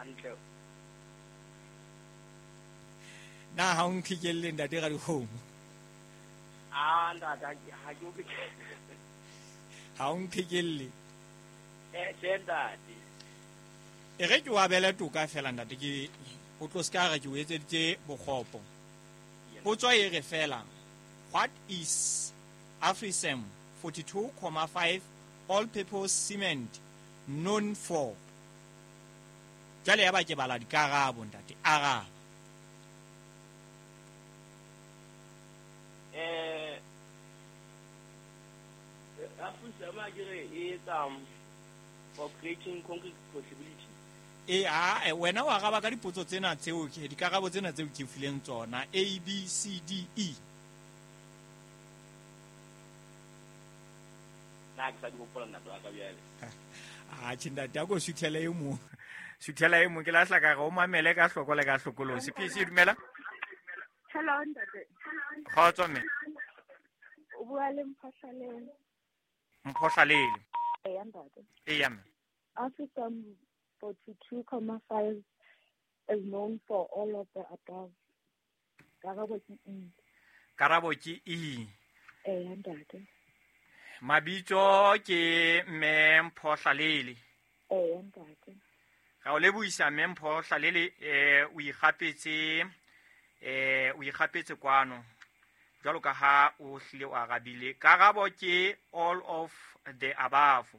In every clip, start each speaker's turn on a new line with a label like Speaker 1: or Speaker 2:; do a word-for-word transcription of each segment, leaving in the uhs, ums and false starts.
Speaker 1: Hantle.
Speaker 2: Na ha o nqhekelle ntate Radikgomo?
Speaker 1: Ah ntate ha ke o
Speaker 2: Ha o nqhekelle.
Speaker 1: Eh tjhe ntate.
Speaker 2: E re ke o abele toka fela ntate ke o tlo ska re ke o etseditse bokgopo. Potso e re fela, what is AfriCem forty-two point five all-purpose cement known for? Jwale ya ba ke bala dikarabo ntate, araba.
Speaker 1: Eh AfriCem a ke re e etsa for creating concrete possibility.
Speaker 2: E a wena wa araba ka dipotso tsena tseo ke dikarabo tsena tseo ke fileng tsona A B C D E.
Speaker 1: Na ke sa di hopola ntate wa ka bjale.
Speaker 2: Ah tjhe ntate a ko suthela e mong. Suthela e mong ke lahla ka re o mamele ka hloko le ka hlokolosi. P C dumela.
Speaker 3: Hello ntate.
Speaker 2: Kgotso mme.
Speaker 3: O bua le Mphohlalele.
Speaker 2: Mphohlalele.
Speaker 3: Eya ntate.
Speaker 2: Eya mme.
Speaker 3: AfriCem forty-two point five is known for all of the above. Karabo ke E.
Speaker 2: Karabo ke E.
Speaker 3: Eya ntate.
Speaker 2: Mabitso ke mme Mphohlalele.
Speaker 3: Eya ntate.
Speaker 2: Ra o lebohisa mme Mphohlalele, eh o ikgapetse eh o ikgapetse kwano. Jwalo ka ha o hlile o arabile. Karabo ke all of the above.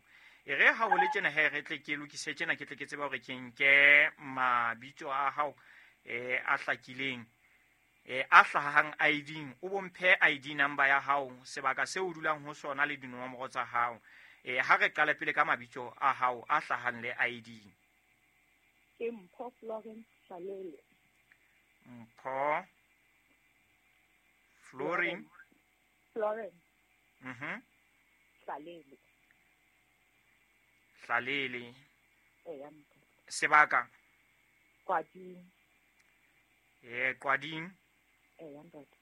Speaker 2: E re ha o le tjena he re tle ke lokise tjena ke tle ke tseba hore ke nke mabitso a hao eh a hlakileng eh a hlahang I D, o bomphe I D number ya hao, sebaka seo o dulang ho sona le dinomoro tsa hao. Eh ha re qale pele ka mabitso a hao a hlahang le I D.
Speaker 3: Ke Mpho Florence Hlalele.
Speaker 2: Mpho Florin
Speaker 3: Florence.
Speaker 2: Mhm.
Speaker 3: Hlalele.
Speaker 2: Hlalele.
Speaker 3: Eya.
Speaker 2: Sebaka
Speaker 3: Kwading.
Speaker 2: Eh Kwading.
Speaker 3: Eya ntate.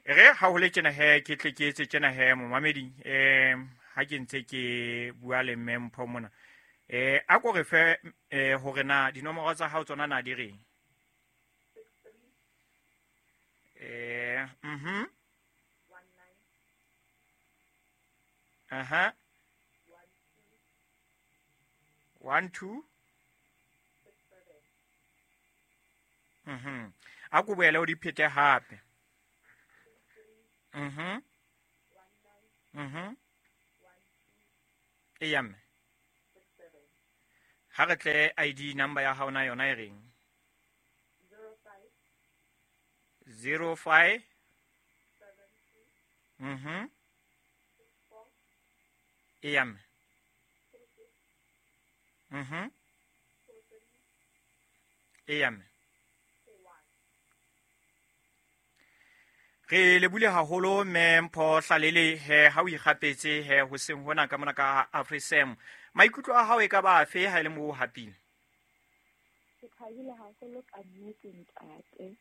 Speaker 2: Re ha ho le tjena he ke tle ke etse tjena he momamedi eh ha ke ntse ke bua le mme Mpho mona. Eh a ko re fe eh hore na dinomoro tsa hao tsona na di reng? Eh mhm. Aha. one two. Mhm. A ko boele o di phete hape. Mhm. Mhm. Eya mme. Ha re tle I D number ya hao na yona e reng? zero five Mhm. Eya mme. Mhm. Eya mme. Re lebule haholo mme Mpho Hlalele he ha o ikgapetse he hoseng hona ka mona ka AfriCem. Maikutlo a hao e ka ba afe ha e le mo hapile?
Speaker 3: Ke thabile haholo ka nnete ntate.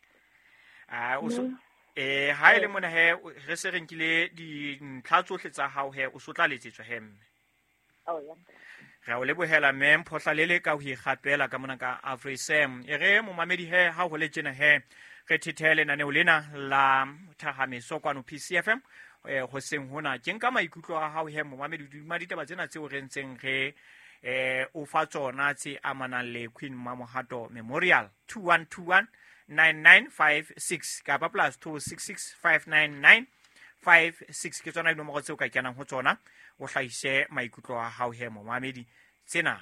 Speaker 2: Ah o so eh ha e le mona he re se re nkile dintlha tsohle tsa hao he o so tla letsetswa he mme.
Speaker 3: Oh ya.
Speaker 2: Re o lebohela mme Mpho Hlalele ka ho ikgapela ka mona ka AfriCem. E re momamedi he ha ho le tjena he re thethele lenaneo lena la Thahameso kwano P C F M eh hoseng hona ke nka maikutlo a hao he momamedi duma ditaba tsena tseo re ntseng re eh o fa tsona tse amanang le Queen Mamohato Memorial two one two one nine nine five six kapa plus two six six five nine nine five six ke tsona dinomoro tseo ka kenang ho tsona o hlahise maikutlo a hao he momamedi. Tsena